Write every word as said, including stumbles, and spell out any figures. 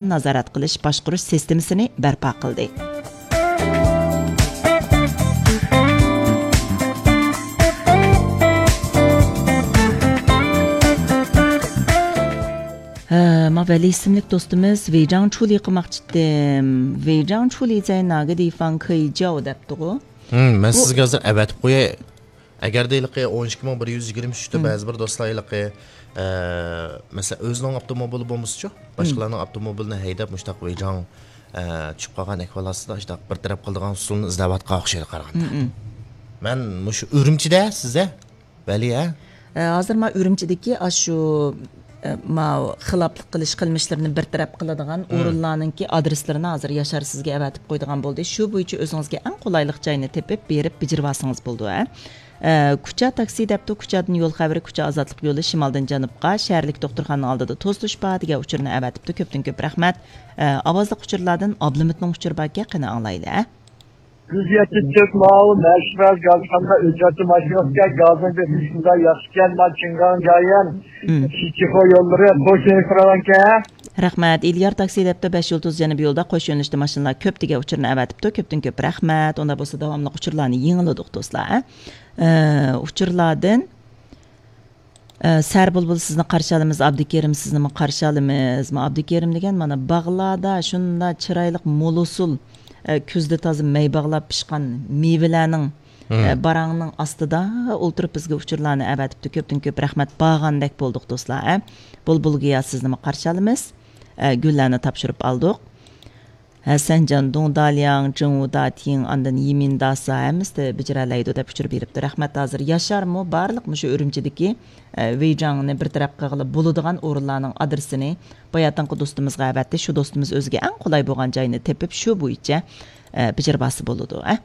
نازارەت قىلىش باشقۇرۇش سىستېمىسىنى بەرپا قىلدى. ھە، ما ۋەلى ئىسىملىك دوستىمىز ۋېيجاڭ چۇلى قىلماقچىتىم. ۋېيجاڭ چۇلى زەي ناگە دىفاڭ كېي جاۋ دەپتىغۇ. ھىم، مەن بۇ سىزگە ھازىر ئەۋەتىپ قوياي. ئەگەردە ھېلىقى ئون ئىككى مىڭ بىر يۈز يىگىرمە ئۈچتە ھىم. بەزى بىر دوستلار ھېلىقى، ئە، مەسىلەن، ئۆزىنىڭ ئاپتوموبىلى بولمىسىچۇ، ھىم. باشقىلارنىڭ ئاپتوموبىلىنى ھەيدەپ، مۇشۇنداق ۋېيجاڭ، ئە، چۈشۈپ قالغان ئەھۋال ئاستىدا شۇنداق بىر تەرەپ قىلىدىغان ئۇسۇلنى ئىزدەۋاتقان ئوخشايدۇ قارىغاندا. ھىم، ھىم. مەن مۇشۇ ئۈرۈمچىدە سىزدە ۋەلى، ھە؟ ئە، ھازىر ما ئۈرۈمچىدىكى ئاشۇ، ئە، ما خىلاپلىق قىلىش قىلمىشلىرىنى بىر تەرەپ قىلىدىغان ھىم. ئورۇنلارنىڭكى ئادرېسلىرىنى ھازىر ياشار سىزگە ئەۋەتىپ قويىدىغان بولدى. شۇ بويىچە ئۆزىڭىزگە ئەڭ قولايلىق جاينى تېپىپ بېرىپ بېجىرىۋالسىڭىز بولىدۇ، ھە؟ ئە، كۇچا تاكسى دەپتۇ، كۇچادىن يول خەۋىرى، كۇچا ئازادلىق يولى، شىمالدىن جەنۇبقا، شەھەرلىك دوختۇرخانىنىڭ ئالدىدا توسۇلۇش بار دېگەن ئۇچۇرنى ئەۋەتىپتۇ. كۆپتىن كۆپ رەھمەت. ئە، ئاۋازلىق ئۇچۇرلاردىن ئابلىمىتنىڭ ئۇچۇرى باركەن، قېنى ئاڭلايلى، ھە؟ يۈز يەتتە تۆت ماۋۇ مەشرەپ گازخانىدا ئۆچەرتە ماشىنىسىكەن، گازنى بېسىش شۇنداق ياخشىكەن، مانا چىڭگاڭ جايەن، مم. شىچىخو يوللىرى، قوش يۆنىلىش راۋانكەن. رەھمەت. ئېليار تاكسى دەپتۇ، بەش يۇلتۇز جەنۇبىي يولدا قوش يۆنىلىشتە ماشىنىلار كۆپ دېگەن ئۇچۇرنى ئەۋەتىپتۇ. كۆپتىن كۆپ رەھمەت. ئۇنداق بولسا داۋاملىق ئۇچۇرلارنى يېڭىلىدۇق، دوستلار، ھە؟ ئە، ئۇچۇرلاردىن ئە، سەربۇلبۇل سىزنى قارشى ئالىمىز، ئابدۇكېرىم سىزنىمۇ قارشى ئالىمىز. ما ئابدۇكېرىم دېگەن مانا باغلاردا شۇنداق چىرايلىق مول ئۇسۇل، ئە، كۈزدە تازا مەي باغلاپ پىشقان مېۋىلەرنىڭ، مم. ئە، باراڭنىڭ ئاستىدا ئولتۇرۇپ بىزگە ئۇچۇرلارنى ئەۋەتىپتۇ. كۆپتىن كۆپ رەھمەت، بارغاندەك بولدۇق دوستلار، ئە. بۇلبۇل گىيا سىزنىمۇ قارشى ئالىمىز. ئە، گۈللەرنى تاپشۇرۇپ ئالدۇق. ھەسەنجان دۇڭدالياڭ، جېڭۋۇداتىڭ، ئاندىن يىمىنداسا ھەممىسى بېجىرەلەيدۇ دەپ ئۇچۇر بېرىپتۇ. رەھمەت، ھازىر ياشارمۇ بارلىق مۇشۇ ئۈرۈمچىدىكى، ئە، ۋېيجاڭنى بىر تەرەپ قىلغىلى بولىدىغان ئورۇنلارنىڭ ئادرېسىنى باياتىنقى دوستىمىزغا ئەۋەتتى. شۇ دوستىمىز ئۆزىگە ئەڭ قولاي بولغان جاينى تېپىپ، شۇ بويىچە، ئە، بېجىرىۋالسا بولىدۇ، ئە.